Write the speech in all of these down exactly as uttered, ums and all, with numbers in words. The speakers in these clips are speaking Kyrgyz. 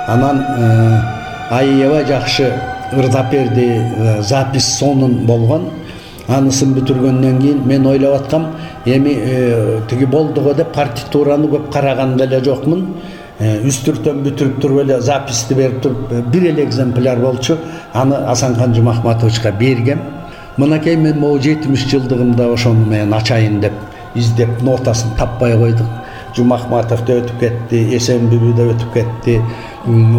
Анан аябай жакшы ырдап-берди, запись сонун болгон. Анысын бүтүргөндөн кийин мен ойлоп аткам, эми тиги болдуго деп партитураны көп караган деле жокмун. Үстүртөн бүтүрүп туруп эле записти берип туруп бир эле экземпляр болчу. Аны Асанкан Жумахматовичка бергем. Мынакей мен могу жетимиш жылдыгымда ошону мен ачайын деп издеп нотасын таппай койдук. Жумахматов да өтүп кетти, Эсенбүлү да өтүп кетти.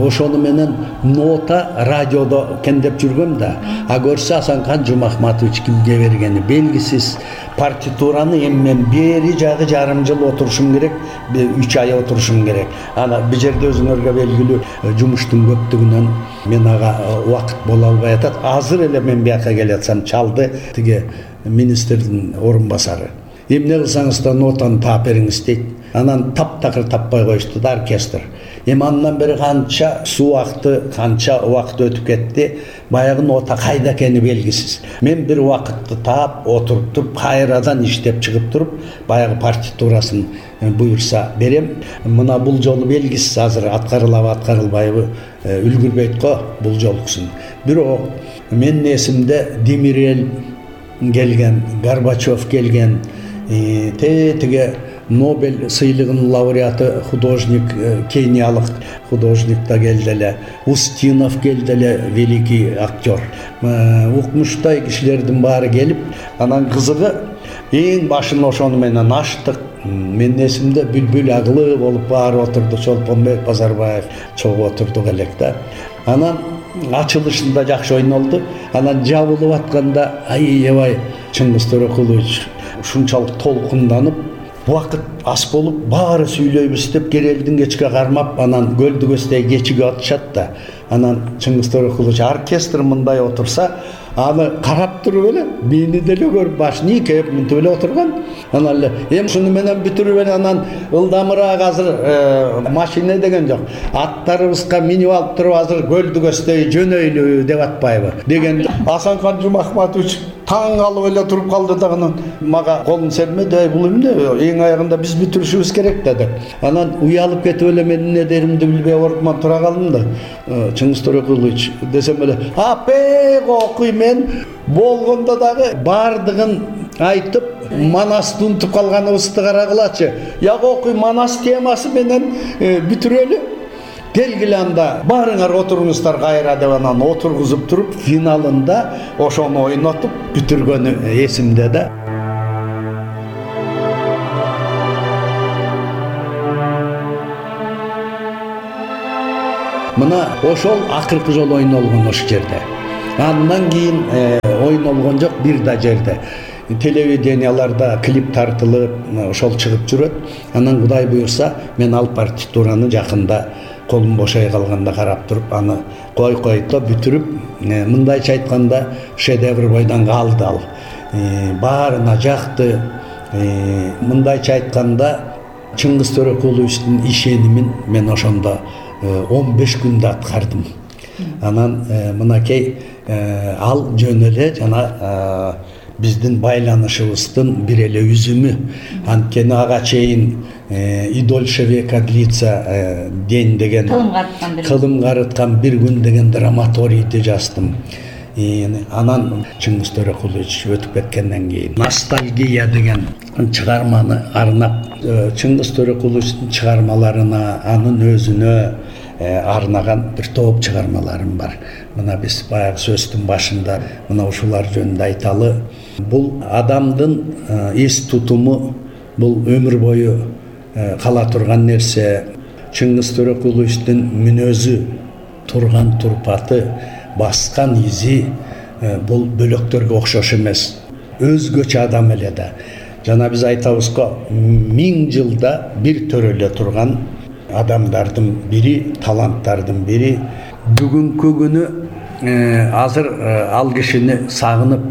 Ошону менен нота радиодо кендеп жүргөм да. А көрсө Асанкан Жумахматович кимге бергени белгисиз. Партитураны эми мен бери жагы жарым жыл отурушум керек, үч ай отурушум керек. Ана бул жерде өзүңөргө белгилүү жумуштун көптүгүнөн мен ага убакыт боло албай атат. Азыр эле мен бияка келатсам чалды тиги министрдин орун басары. Эмне кылсаңыз да нотаны таап бериңиз дейт. Анан таптакыр таппай коюшту да оркестр. Эми андан бери канча суу акты, канча убакыт өтүп кетти, баягы нота кайда экени белгисиз. Мен бир убакытты таап, отуруп туруп, кайрадан иштеп чыгып туруп, баягы партитурасын буйрса берем. Мына бул жолу белгисиз, азыр аткарылабы, аткарылбайбы үлгүрбөйт го бул жолкусун. Бирок менин эсимде Демирел келген, Горбачев келген, тетиге Нобель сыйлыгынын лауреаты художник, кениялык художник да келди эле, Устинов келди эле, великий актер. Укмуштай кишилердин баары келип, анан кызыгы эң башын ошону менен ачтык. Менин эсимде Бүлбүл Агылы болуп баары отурду, Чолпонбек Базарбаев чогуу отурдук элек да. Анан ачылышында жакшы ойнолду. Анан жабылып атканда аябай Чыңгыз Төрөкулович ушунчалык толкунданып, убакыт ас болуп, баары сүйлөйбүз деп Керелдин кечке кармап, анан Көлдү көстөй кечиге атышат да. Анан Чыңгыз Төрөкулович оркестр мындай отурса, аны карап туруп эле, мени деле көрүп башын ийкеп мынтип эле отурган. Анан эле эми шуну менен бүтүрүп эле анан ылдамыраак азыр машина деген жок. Аттарыбызга минип алып туруп азыр Көлдү көстөй жөнөйлү деп атпайбы дегенде Асанкан Жумахматович таң калып эле туруп калды да, анан мага колун сермеди, бул эмне, эң аягында биз бүтүрүшүбүз керек да деп. Анан уялып кетип эле мен эмне деримди билбей ордуман тура калдым да. Чыңгыз Төрөкулович десем эле, апек окуй, мен болгондо дагы бардыгын айтып, Манасты унутуп калганыбызды карагылачы. Яг окуй, Манас темасы менен бүтүрөлү. Келгиле анда баарыңар отуруңуздар кайра деп анан отургузуп туруп, финалында ошону ойнотуп бүтүргөнү эсимде да. Мына ошол акыркы жолу ойнолгон ошол жерде. Андан кийин ойнолгон жок бир да жерде. Телевиденияларда клип тартылып, ошол чыгып жүрөт. Анан Кудай буйрса, мен ал партитураны жакында колум бошой калганда карап туруп, аны кой който бүтүрүп, мындайча айтканда шедевр бойдон калды ал. Баарына жакты. Мындайча айтканда Чыңгыз Төрөкуловичтин ишенимин мен ошондо он беш күндө аткардым. Анан мынакей ал жөн эле жана биздин байланышыбыздын бир эле үзүмү. Анткени ага чейин и дольше века длится день деген кылым карыткан бир күн деген драматорийди жаздым. Анан Чыңгыз Төрөкулович өтүп кеткенден кийин ностальгия деген чыгарманы арнап, Чыңгыз Төрөкуловичтин чыгармаларына, анын өзүнө арнаган бир топ чыгармаларым бар. Мына биз баягы сөздүн башында мына ушулар жөнүндө айталы. Бул адамдын эс тутуму, бул өмүр бою кала турган нерсе. Чыңгыз Төрөкуловичтин мүнөзү, турган турпаты, баскан изи бул бөлөктөргө окшош эмес. Өзгөчө адам эле да. Жана биз айтабыз го, миң жылда бир төрөлө турган адамдардын бири, таланттардын бири. Бүгүнкү күнү азыр ал кишини сагынып,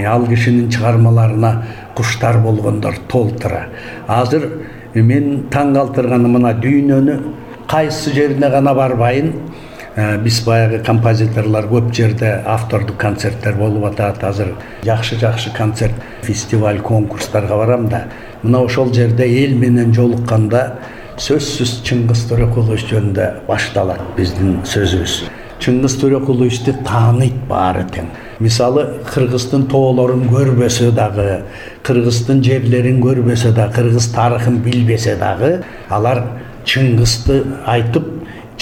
ал кишинин чыгармаларына куштар болгондор толтура. Азыр мен таң калтырганы мына дүйнөнү кайсы жерине гана барбайын, биз баягы композиторлор көп жерде автордук концерттер болуп атат. Азыр жакшы-жакшы концерт, фестиваль, конкурстарга барам да. Мына ошол жерде эл менен жолукканда сөзсүз Чыңгыз Төреқулович жөнүндө башталат биздин сөзүбүз. Чыңгыз Төреқуловичти тааныйт баары тең. Мисалы, Кыргыздын тоолорун көрбөсө дагы, Кыргыздын жерлерин көрбөсө да, Кыргыз тарыхын билбесе дагы, алар Чыңгызды айтып,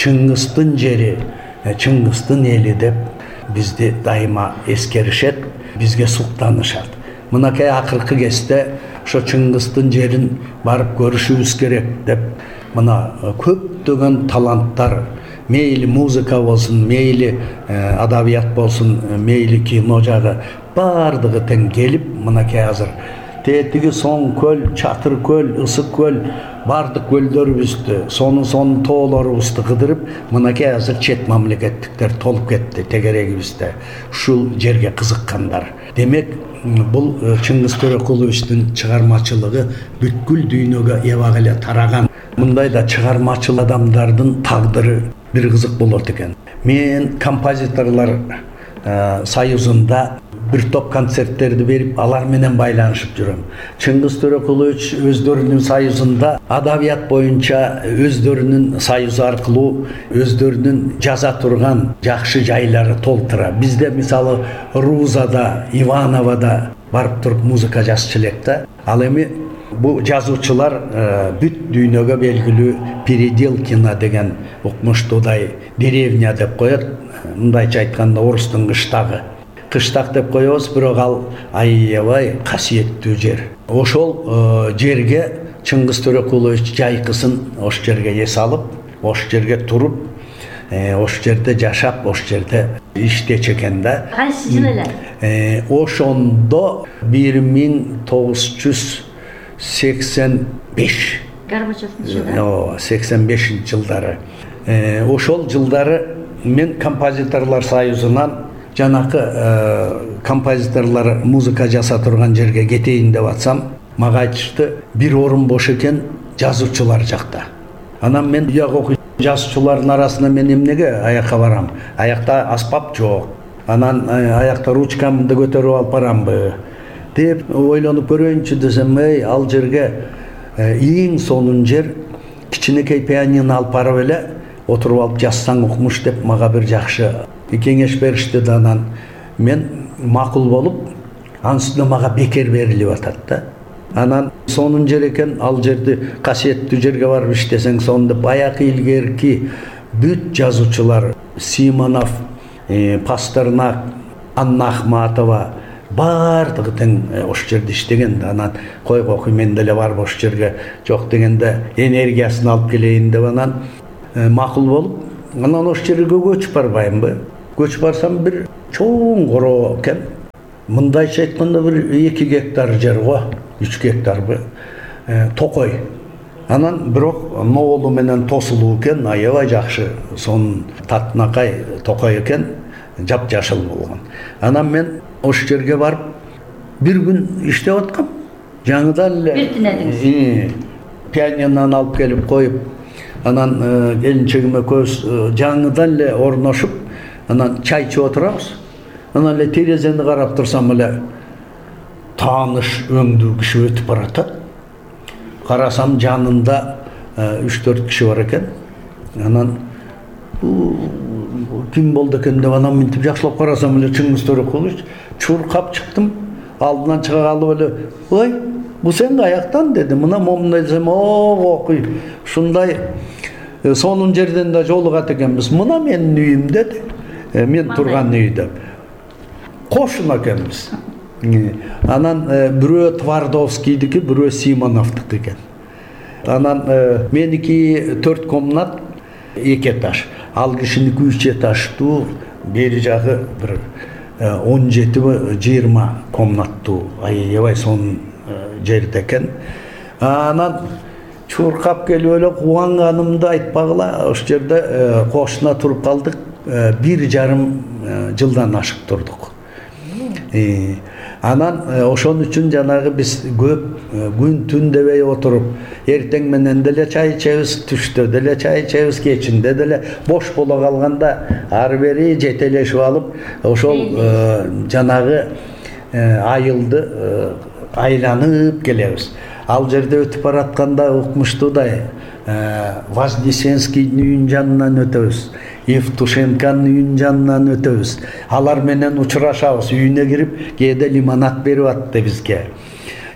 Чыңгыздын жери, Чыңгыздын эли деп бизди дайыма эскеришет, бизге суктанышат. Мынакей акыркы кезде ошо Чыңгыздын жерин барып көрүшүбүз керек деп мына көптөгөн таланттар, мейли музыка болсун, мейли адабият болсун, мейли кино жагы бардыгы тең келип, мынакей азыр тетиги Соң көл, Чатыр көл, Ысык көл, бардык көлдөрүбүздү, сонун сонун тоолорубузду кыдырып, мынакей азыр чет мамлекеттиктер толуп кетти тегерегибизде. Ушул жерге кызыккандар. Демек, бул Чыңгыз Төреқуловичтин чыгармачылыгы бүткүл дүйнөгө эбак эле тараган. Мындай да чыгармачыл адамдардын тагдыры бир кызык болот экен. Мен композиторлор союзунда бир топ концерттерди берип, алар менен байланышып жүрөм. Чыңгыз Төреқулович өздөрүнүн союзунда адабият боюнча өздөрүнүн союзу аркылуу өздөрүнүн жаза турган жакшы жайлары толтура. Бизде мисалы Рузада, Ивановада барып туруп музыка жазчу элек да. Ал эми бу жазуучулар бүт дүйнөгө белгилүү Переделкино деген укмуштуудай деревня деп коет. Мындайча айтканда орустун кыштагы. Кыштак деп коебуз, бирок ал аябай касиеттүү жер. Ошол жерге Чыңгыз Төреқулович жайкысын ош жерге эс алып, ош жерге туруп, ош жерде жашап, ош жерде иштечү экен да. Кайсы жыл эле? Ошондо бир миң тогуз жүз сексен беш. Горбачевдин жылдары. Ооба, сексен бешинчи жылдары. Ошол жылдары мен композиторлор союзунан жанакы композиторлор музыка жаса турган жерге кетейин деп атсам, мага айтышты, бир орун бош экен жазуучулар жакта. Анан мен уяк окуйт, жазуучулардын арасына мен эмнеге аякка барам? Аякта аспап жок. Анан аякта ручкамды көтөрүп алып барамбы деп ойлонуп көрөйүнчү десем, эй, ал жерге эң сонун жер кичинекей пианино алып барып эле отуруп алып жазсаң укмуш деп мага бир жакшы кеңеш беришти да. Анан мен макул болуп, анын үстүнө мага бекер берилип атат да. Анан сонун жер экен, ал жерди касиеттүү жерге барып иштесең сонун деп баягы илгерки бүт жазуучулар Симонов, Пастернак, Анна Ахматова бардыгы тең ош жерде иштеген да. Анан койго окуй, мен деле барып ош жерге жок дегенде энергиясын алып келейин деп анан макул болуп, анан ош жерге көчүп барбаймбы? Көчүп барсам бир чоң короо экен. Мындайча айтканда бир эки гектар жер го, үч гектарбы? Токой. Анан бирок ноолу менен тосулуу экен, аябай жакшы, сонун татынакай токой экен, жапжашыл болгон. Анан мен ош жерге барып бир күн иштеп аткам. Жаңыдан эле бир түнөдүңүз. Пианинону алып келип коюп, анан келинчегиме көз жаңыдан эле орношуп, анан чай ичип отурабыз. Анан эле терезени карап турсам эле тааныш өңдүү киши өтүп баратат. Карасам жанында үч төрт киши бар экен. Анан ким болду экен деп анан мынтип жакшылап карасам эле Чыңгыз Төреқулович. Чуркап чыктым, алдынан чыга калып эле, "Ой, бу сен каяктан?" деди. Мына момундай десем, "Ого, окуй, ушундай сонун жерден да жолугат экенбиз. Мына менин үйүм" деди. Мен турган үй деп. Кошун экенбиз. Анан бирөө Твардовскийдики, бирөө Симоновдуку экен. Анан меники төрт комнат, эки этаж. Ал кишиники үч этаждуу, бери жагы бир он жетиби жыйырма комнаттуу, аябай сонун жерде экен. Анан чуркап келип эле кубанганымды айтпагыла, ош жерде кошуна туруп калдык. Бир жарым жылдан ашык турдук. Анан ошон үчүн жанагы биз көп күн түн дебей отуруп, эртең менен деле чай ичебиз, түштө деле чай ичебиз, кечинде деле бош боло калганда ары бери жетелешип алып, ошол жанагы айылды айланып келебиз. Ал жерде өтүп баратканда укмуштуудай Вознесенскийдин үйүнүн жанынан өтөбүз, Евтушенконун үйүнүн жанынан өтөбүз. Алар менен учурашабыз, үйүнө кирип, кээде лимонад берип атты бизге.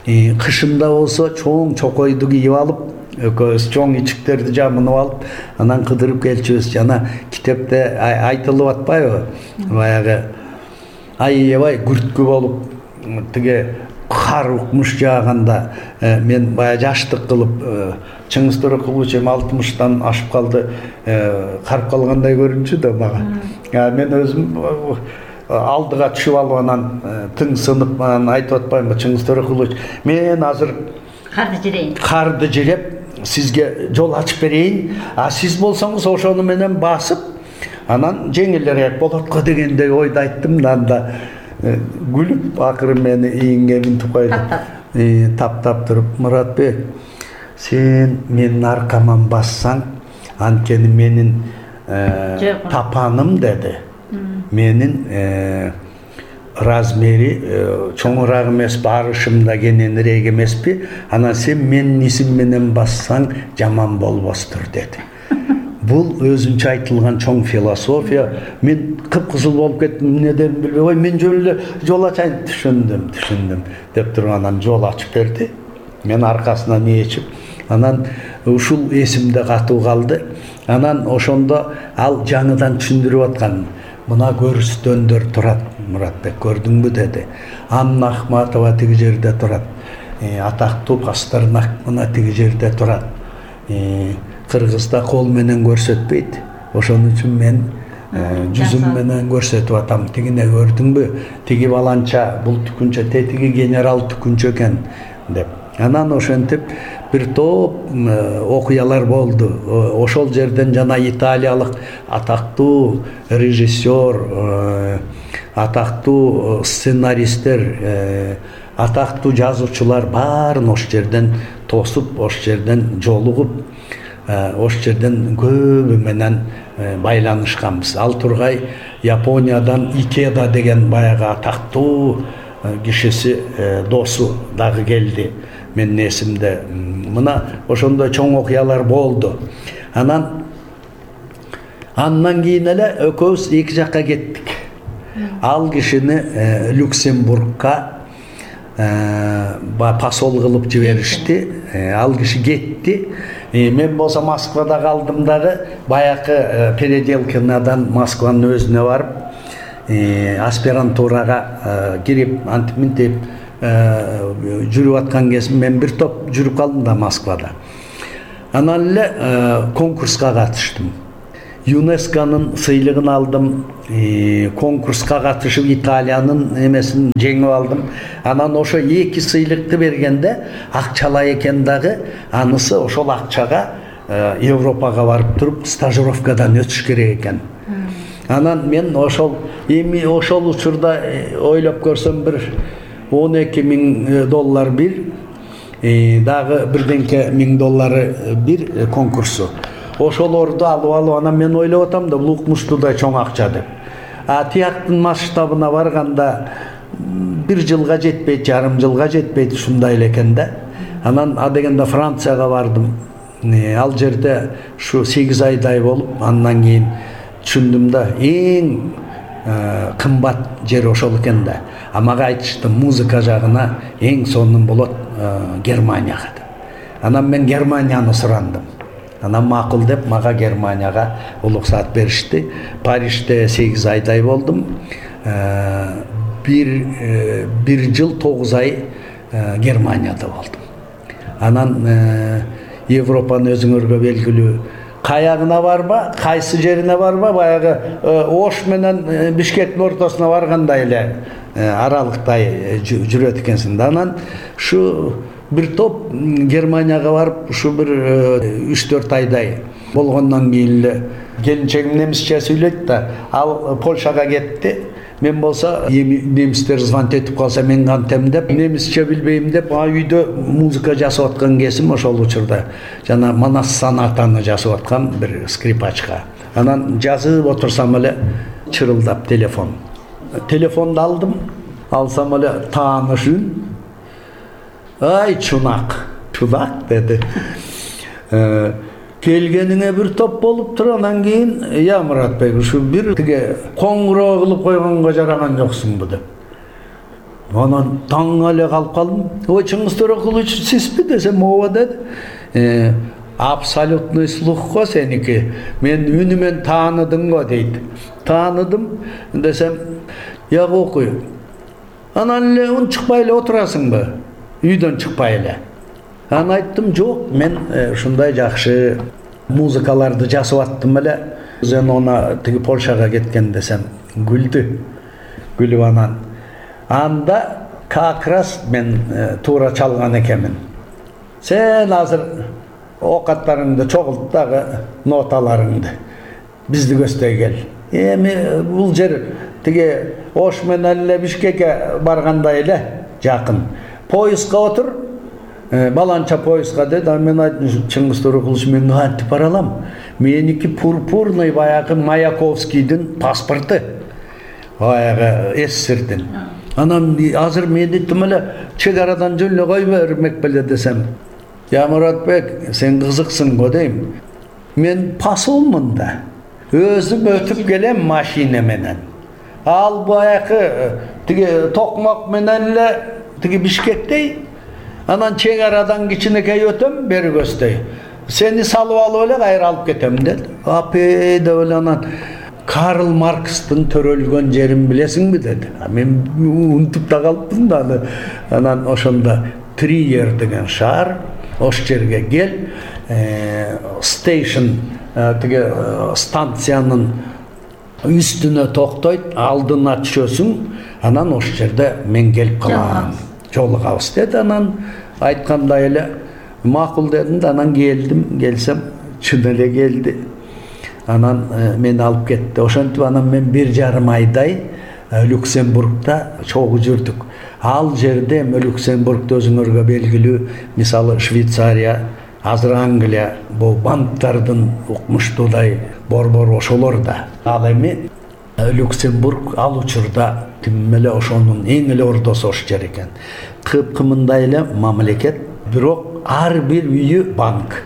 Кышында болсо чоң чокойду кийип алып, экөөбүз чоң ичиктерди жамынып алып, анан кыдырып келчүбүз. Жана китепте айтылып атпайбы? Баягы аябай күрткү болуп, тиги кар укмуш жааганда мен баягы жаштык кылып, Чыңгыз Төрөкулович эми алтымыштан ашып калды, карып калгандай көрүнчү да мага. Мен өзүм алдыга түшүп алып анан тың сынып анан айтып атпаймынбы, Чыңгыз Төрөкулович, мен азыр карды жирейин. Карды жиреп сизге жол ачып берейин, а сиз болсоңуз ошону менен басып, анан жеңилирээк болот го дегендей ойду айттым да, анда күлүп акыры мени ийинге минтип койду. Таптап туруп, Муратбек, сен менин аркаман бассаң, анткени менин тапаным деди. Менин размери чоңураак эмеспи, арышым да кененирээк эмеспи, анан сен менин исим менен бассаң жаман болбостур деди. Бул өзүнчө айтылган чоң философия. Мен кыпкызыл болуп кеттим, эмнеден билбей, ой мен жөн эле жол ачайын, түшүндүм, түшүндүм деп туруп анан жол ачып берди. Мен аркасынан ээчип, анан ушул эсимде катуу калды. Анан ошондо ал жаңыдан түшүндүрүп аткан. Мына көрүстөндөр турат, Муратбек, көрдүңбү деди. Анна Ахматова тиги жерде турат. Атактуу Пастернак мына тиги жерде турат. Кыргызда кол менен көрсөтпөйт. Ошон үчүн мен жүзүм менен көрсөтүп атам. Тигине көрдүңбү? Тиги баланча, бул түкүнчө, тетиги генерал түкүнчө экен деп. Анан ошентип бир топ окуялар болду. Ошол жерден жана италиялык атактуу режиссер, атактуу сценаристтер, атактуу жазуучулар баарын ошол жерден тосуп, ошол жерден жолугуп, ошол жерден көбү менен байланышканбыз. Ал тургай Япониядан Икеда деген баягы атактуу кишиси, досу дагы келди. Менин эсимде. Мына ошондой чоң окуялар болду. Анан андан кийин эле экөөбүз эки жакка кеттик. Ал кишини Люксембургка посол кылып жиберишти. Ал киши кетти. Мен болсо Москвада калдым дагы, баякы Переделкинадан Москванын өзүнө барып, аспирантурага кирип, антип мынтип жүрүп аткан кезим мен бир топ жүрүп калдым да Москвада. Анан эле конкурска катыштым. ЮНЕСКОнун сыйлыгын алдым. Конкурска катышып Италиянын эмесин жеңип алдым. Анан ошо эки сыйлыкты бергенде акчалай экен дагы, анысы ошол акчага Европага барып туруп стажировкадан өтүш керек экен. Анан мен ошол эми ошол учурда ойлоп көрсөм бир он эки миң доллар бир, дагы бирденке миң доллары бир конкурсу. Ошолорду алып алып, анан мен ойлоп атам да, бул укмуштуудай чоң акча деп. А тияктын масштабына барганда бир жылга жетпейт, жарым жылга жетпейт, ушундай эле экен да. Анан а дегенде Францияга бардым. Ал жерде ушу сегиз айдай болуп, андан кийин түшүндүм да, эң кымбат жер ошол экен да. А мага айтышты, музыка жагына эң сонун болот Германияга деп. Анан мен Германияны сурандым. Анан макул деп мага Германияга уруксат беришти. Парижде сегиз айдай болдум. Бир бир жыл тогуз ай Германияда болдум. Анан Европаны өзүңөргө белгилүү каягына барба, кайсы жерине барба, баягы Ош менен Бишкектин ортосуна баргандай эле аралыктай жүрөт экенсиң. Анан ушу бир топ Германияга барып, ушу бир үч төрт айдай болгондон кийин эле келинчегим немисче сүйлөйт да, ал Польшага кетти. Мен болсо эми немистер звонить этип калса мен кантем деп, немисче билбейм деп, а үйдө музыка жасап аткан кезим ошол учурда жана Манас сонатаны жасап аткам бир скрипачка. Анан жазып отурсам эле чырылдап телефон. Телефонду алдым, алсам эле тааныш үн. Ай чунак, чунак деди. келгениңе бир топ болуп тур, анан кийин я Муратбек ушу бир тиге коңгуроо кылып койгонго жараган жоксуңбу деп. Анан таң эле калып калдым. Ой, Чыңгыз Төрөкулович сизби десем, ооба деди. Абсолютный слух го сеники. Мен үнүмен тааныдым го дейт. Тааныдым десем, я окуй. Анан эле унчукпай эле отурасыңбы? Үйдөн чыкпай эле. Анан айттым, жок, мен ушундай жакшы музыкаларды жасап аттым эле. Зенона тиги Польшага кеткен десем, күлдү. Күлүп анан анда как раз мен туура чалган экенмин. Сен азыр окаттарыңды чогулт дагы ноталарыңды. Бизди көздөй кел. Эми бул жер тиги Ош менен эле Бишкекке баргандай эле жакын. Поездга отур. Баланча поездга деди. Мен айттым, Чыңгыз Төрөкулович, мен кантип бара алам? Меники пурпурный баягы Маяковскийдин паспорту. Баягы СССРдин. Анан азыр мен диттим эле чек арадан жөн эле кой бермек беле десем. Я Муратбек, сен кызыксың го дейм. Мен посолмун да. Өзүм өтүп келем машина менен. Ал баягы тиги токмок менен эле тиги Бишкектей. Анан чек арадан кичинекей өтөм бери көздөй. Сени салып алып эле кайра алып кетем деди. Апей деп эле анан Карл Маркстын төрөлгөн жерин билесиңби деди. Мен унутуп да калыпмын да. Анан ошондо Триер деген шаар, ош жерге кел, стейшн тиги станциянын үстүнө токтойт, алдына түшөсүң, анан ош жерде мен келип калам. Жолугабыз деди. Анан айткандай эле макул дедим да, анан келдим, келсем чын эле келди. Анан мени алып кетти. Ошентип анан мен бир жарым айдай Люксембургда чогуу жүрдүк. Ал жерде эми Люксембургда өзүңөргө белгилүү, мисалы Швейцария, азыр Англия, бул банктардын укмуштуудай борбору ошолор да. Ал эми Люксембург ал учурда тим эле ошонун эң эле ордосу ош жер экен. Кыпкымындай эле мамлекет, бирок ар бир үйү банк.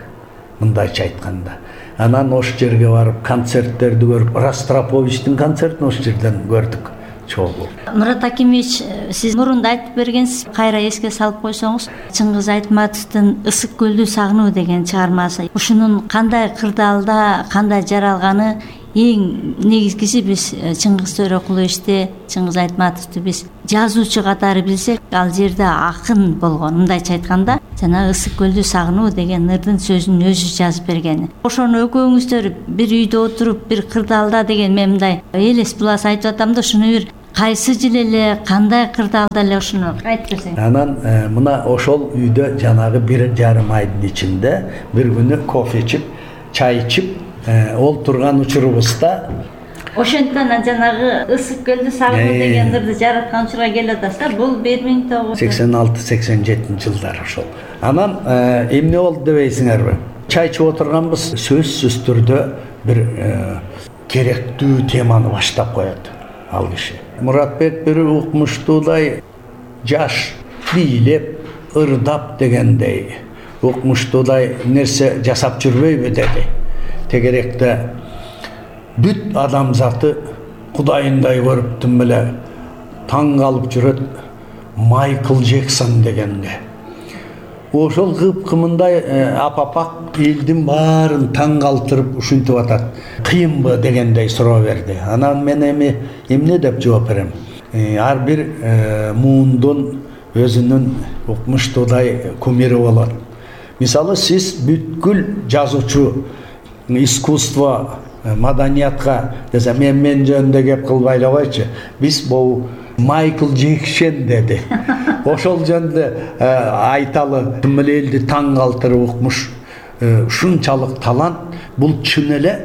Мындайча айтканда. Анан ош жерге барып концерттерди көрүп, Ростроповичтин концертин ош жерден көрдүк. Чогуу. Мурат Акимович, сиз мурунда айтып бергенсиз, кайра эске салып койсоңуз, Чыңгыз Айтматовдун Ысык көлдү сагынуу деген чыгармасы. Ушунун кандай кырдаалда, кандай жаралганы эң негизгиси биз Чыңгыз Төрөкуловичти, Чыңгыз Айтматовду биз жазуучу катары билсек, ал жерде акын болгон. Мындайча айтканда, жана Ысык көлдү сагынуу деген ырдын сөзүн өзү жазып бергени. Ошону экөөңүздөр бир үйдө отуруп, бир кырдаалда деген мен мындай элес булас айтып атам да, ушуну бир кайсы жыл эле, кандай кырдаалда эле ушуну айтып берсең. Анан мына ошол үйдө жанагы бир жарым айдын ичинде бир күнү кофе ичип, чай ичип олтурган учурубузда ошентип анан жанагы Ысык көлдү сагынуу деген ырды жараткан учурга келип атасыздар. Бул бир миң тогуз жүз сексен алты сексен жетинчи жылдар ошол. Анан эмне болду дебейсиңерби? Чай ичип отурганбыз, сөзсүз түрдө бир керектүү теманы баштап коет ал киши. Муратбек бир укмуштуудай жаш бийлеп, ырдап дегендей укмуштуудай нерсе жасап жүрбөйбү деди. Тегеректе бүт адамзаты кудайындай көрүп тим эле таң калып жүрөт Майкл Джексон дегенге. Ошол кыпкымындай апапак элдин баарын таң калтырып ушинтип атат. Кыйынбы дегендей суроо берди. Анан мен эми эмне деп жооп берем? Ар бир муундун өзүнүн укмуштуудай кумири болот. Мисалы сиз бүткүл жазуучу, искусство, маданиятка десе, мен мен жөнүндө кеп кылбай эле койчу. Биз бул Майкл Джексон деди. Ошол жөнүндө айталы, тим эле элди таң калтырып укмуш, ушунчалык талант, бул чын эле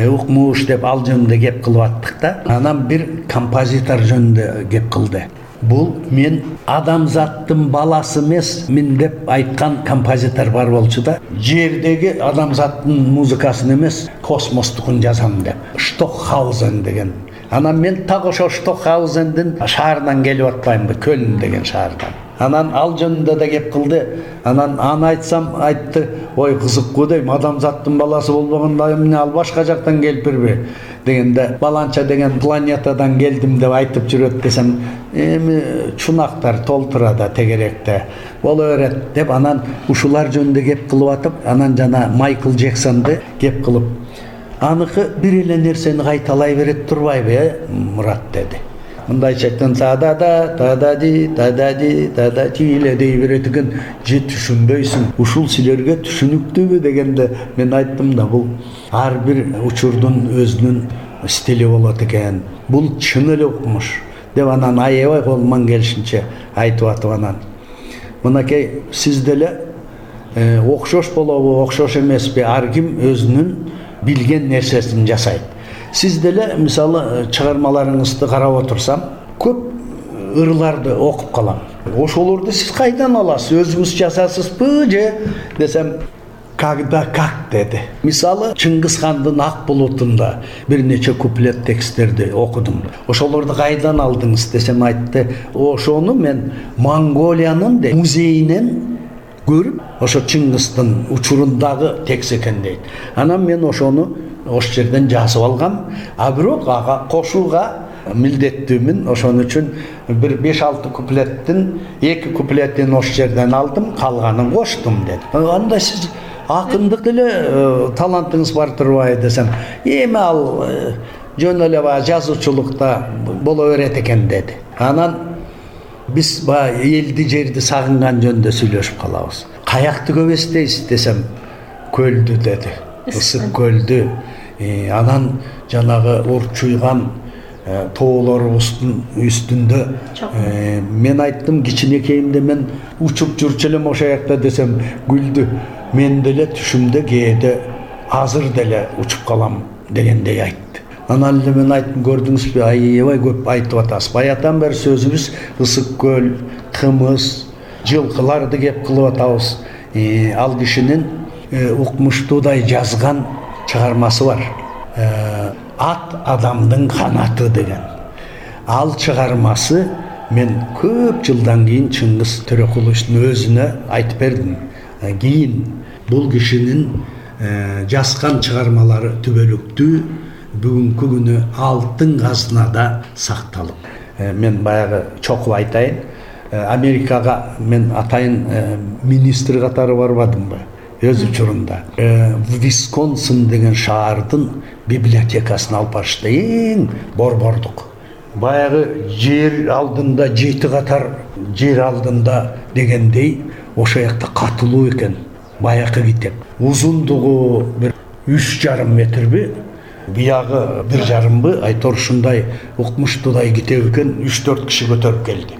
укмуш деп ал жөнүндө кеп кылып аттык да. Анан бир композитор жөнүндө кеп кылды. Бул мен адамзаттын баласы эмес, мен деп айткан композитор бар болчу да. Жердеги адамзаттын музыкасын эмес, космостукун жазам деп. Штокхаузен деген. Анан мен так ошо Штокхаузендин шаарынан келип атпаймынбы, Көлн деген шаардан. Анан ал жөнүндө да кеп кылды. Анан аны айтсам айтты, ой кызыккуу дейм, адамзаттын баласы болбогондо эмне ал башка жактан келипирби дегенде, баланча деген планетадан келдим деп айтып жүрөт десем, эми чунактар толтура да тегеректе боло берет деп анан ушулар жөнүндө кеп кылып атып, анан жана Майкл Джексонду кеп кылып, аныкы бир эле нерсени кайталай берет турбайбы, э Мурат деди. Мындайча айтканда та-да-да, та-да-ди, та-да-ди, та-да-ти эле дей берет экен, же түшүнбөйсүң, ушул силерге түшүнүктүүбү дегенде мен айттым да, бул ар бир учурдун өзүнүн стили болот экен. Бул чын эле укмуш деп анан аябай колуман келишинче айтып атып анан. Мынакей сиз деле окшош болобу, окшош эмеспи, ар ким өзүнүн билген нерсесин жасайт. Сиз деле мисалы чыгармаларыңызды карап отурсам, көп ырларды окуп калам. Ошолорду сиз кайдан аласыз? Өзүңүз жасасызбы же десем, когда как деди. Мисалы Чыңгыз хандын Ак булутунда бир нече куплет тексттерди окудум. Ошолорду кайдан алдыңыз десем, айтты, ошону мен Монголиянын музейинен көрүп, ошо Чыңгыздын учурундагы текст экен дейт. Анан мен ошону ош жерден жазып алгам, а бирок ага кошууга милдеттүүмүн. Ошон үчүн бир беш алты куплеттин эки куплетин ош жерден алдым, калганын коштум деди. Анда сиз акындык деле талантыңыз бар турбайбы десем, эми ал жөн эле баягы жазуучулукта боло берет экен деди. Анан биз баягы элди жерди сагынган жөнүндө сүйлөшүп калабыз. Каякты көп эстейсиз десем, көлдү деди. Ысык көлдү. Анан жанагы урчуйган тоолорубуздун үстүндө мен айттым, кичинекейимде мен учуп жүрчү элем ошо жакта десем, күлдү. Мен деле түшүмдө кээде азыр деле учуп калам дегендей айтты. Анан эле мен айттым, көрдүңүзбү, аябай көп айтып атасыз. Баятан бери сөзүбүз ысык көл, кымыз, жылкыларды кеп кылып атабыз. Ал кишинин укмуштуудай жазган чыгармасы бар. Ат адамдын канаты деген. Ал чыгармасы мен көп жылдан кийин Чыңгыз Төрөкуловичтин өзүнө айтып бердим. Кийин бул кишинин жазган чыгармалары түбөлүктүү бүгүнкү күнү алтын казынада сакталып. Мен баягы чокуп айтайын, Америкага мен атайын министр катары барбадымбы? Өз учурунда Висконсин деген шаардын библиотекасына алып барышты, эң борбордук. Баягы жер алдында жети катар жер алдында дегендей ошо жакта катылуу экен. Баякы китеп. Узундугу бир үч жарым метрби, биягы бир жарымбы, айтор ушундай укмуштуудай китеп экен, үч төрт киши көтөрүп келди.